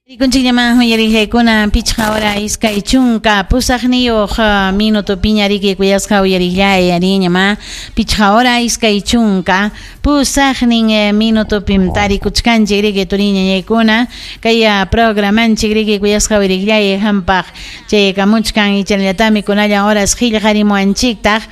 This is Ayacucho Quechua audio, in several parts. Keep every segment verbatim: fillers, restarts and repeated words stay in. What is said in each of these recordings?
Rikunchikllaman uyariqllaykuna pichqa hora iskay chunka pusaqniyuq minuto piñariki kuyasqa uyariqllay ariñama pichqa hora iskay chunka pusaqnin minutopim tarikuchkanchik riki turiñañaykuna kay programanchik riki kuyasqa uyariqllay hampaq chaykamuchkan ichanallatami kunallan horas qillqarimuwanchiktaq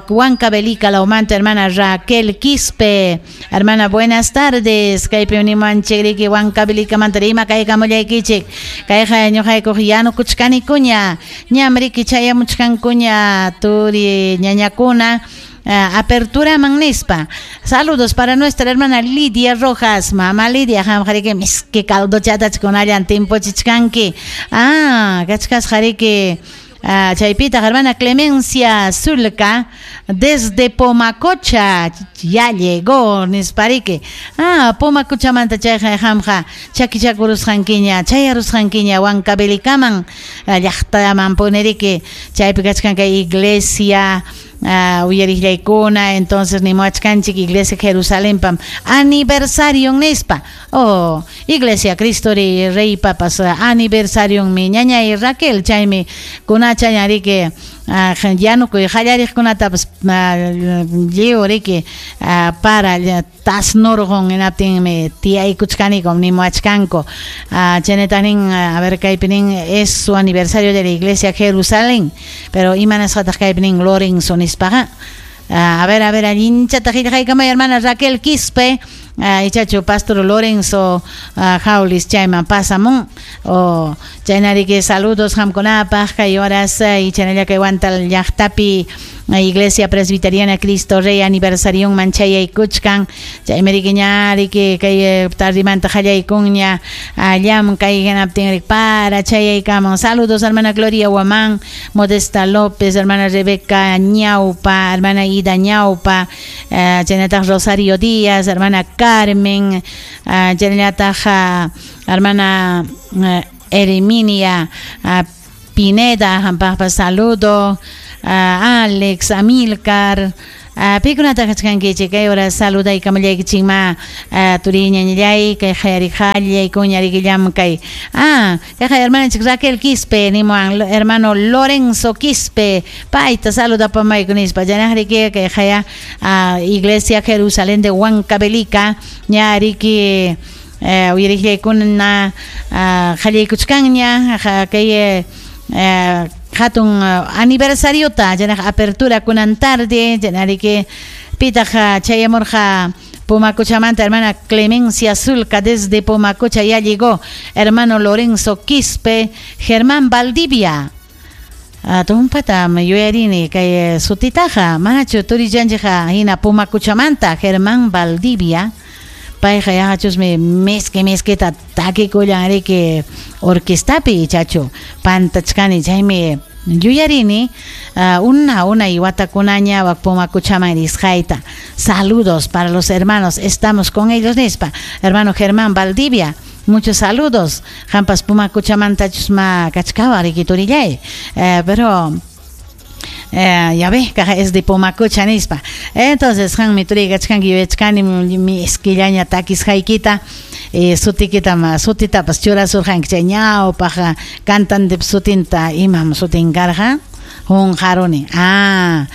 Huancavelica lawmanta hermana Raquel Quispe. Hermana, buenas tardes, kaypi nimuwanchik riki Huancavelicamanta rima kay kamullaykichik kayqa ñuqaykuq yanukuchkanikuña ñam riki chayamuchkankuña turi ñañakuna Uh, apertura nispa. Saludos para nuestra hermana Lidia Rojas. Mamá Lidia, hamjariki miski caldochata kunallan timpuchichkanki. Ah, kachkas jariki uh, chaypita hermana Clemencia Zulca desde Pomacocha ya llegó nispariki. Ah, Pomacochamanta chayqa hamja chakichakurusqankiña chayarusqankiña Huancavelicaman llaqtaman puneriki chaypi kachkan kay iglesia Uh, uyariqllaykuna entonces nimuwachkanchik Iglesia Jerusalén pam aniversario nispa. Oh, Iglesia Cristo Rey Papas aniversario mi ñañay Raquel chaymi kunacha riki uh, yanukuy qallariqkunatapas lliw riki uh, para tasnurqun hinaptinmi tiyaykuchkanikum nimuwachkanku uh, chaynataq nin a ver kaypi nin es su aniversario de la Iglesia Jerusalén, pero imanasqataq kaypi nin Lorenzo nispaqa. Uh, a ver, a ver, allinchata qillqaykamay hermana Raquel Quispe, uh, ichachu Pastor Lorenzo uh, Jaulis chayman pasamun o chaynariki saludos hamkunapaq kay horas uh, ichanalla kay Huantal llaqtapi Iglesia Presbiteriana Cristo Rey aniversarion chayaykuchkan chaymi ña riki kay tardimanta qallaykunña llam kay hinaptin para chayaykamun. Saludos hermana Gloria Guamán, Modesta López, hermana Rebeca Ñaupa, hermana Ida Ñaupa, uh, chaynataq Rosario Díaz, hermana Carmen, uh, chaynataq uh, hermana uh, Herminia uh, Pineda, hampaqpa saludo, uh, Alex, Amilcar, uh, pikunata kachkankichik kay hora saludaykamullaykichikma uh, turiñañallay kay qayariqallay kuñarikillam kay ah kay hermananchik Raquel Quispe nimuwan hermano Lorenzo Quispe payta saludapamayku nispa chanaqriki kay qaya uh, Iglesia Jerusalén de Huancavelica ñariki uh, uyariqllaykuna uh, qallaykuchkanña kay uh, hatun uh, aniversariota chanaq apertura kunan tarde chanariki pitaq chayamurqa Pomacochamanta hermana Clemencia Zulca desde Pomacocha ya llegó hermano Lorenzo Quispe, Germán Valdivia. Uh, tumpata yuyarini kay sutitaqa manachu turillanchikqa hina Pomacochamanta Germán Valdivia payqa yaqachusmi miski miskita takikullan riki orquestapi chachu pantachkani chaymi yuyarini uh, una una y watakunaña wak Pomacochaman risqayta. Saludos para los hermanos, estamos con ellos nispa. Hermano Germán Valdivia, muchos saludos. Hampas Pumacochamanta chusma kachkawa riki turillay. Eh, pero Eh, ya ves, es de Pomacocha nispa. Entonces, hanmi turikachkanki yuyachkani mi esquillaña takisqaykita eh, sutikita ma sutitapas churasurqanki chay ñawpaq cantante sutinta imam sutin karqa Junjaruni. Ah,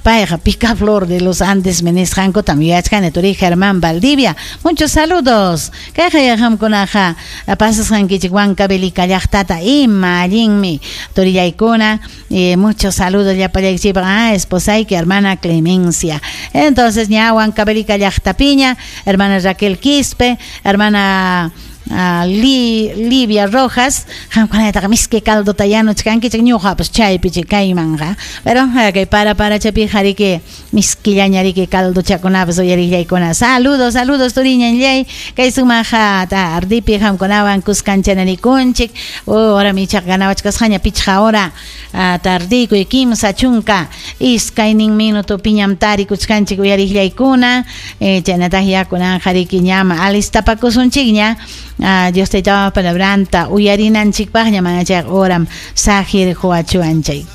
payqa Picaflor de los Andes nisqankutam yuyachkani turi Germán Valdivia. Muchos saludos. Kayqa yaqamkunaqa pasasqankichik Huancavelica llaqtata ima allinmi turillaykuna. Eh, muchos saludos llapallaykichikpaq. Ah, esposayki hermana Clemencia. Entonces ña Huancavelica llaqtapiña, hermana Raquel Quispe, hermana Uh, Li, Livia Rojas, qamkunataqa miski caldota yanuchkankichik ñuqapas chaypichik kaymanqa, pero kay para para chapiqa riki miskillaña riki caldochakunapas uyariqllaykuna. Saludos, saludos turiñanllay kay sumaqa tardipi qamkunawan kuskanchanarikunchik. Oh, ora michaqa ganawachkasqaña pichqa hora uh, tardikuy kimsa chunka iskaynin minuto piñam tarikuchkanchik uyariqllaykuna. Eh, chaynataq yakunanqa riki ñama alistapakusunchikña. Uh, Dios taytawa palabranta uyarinanchikpaqña mana chay horam saqir huachuanchik.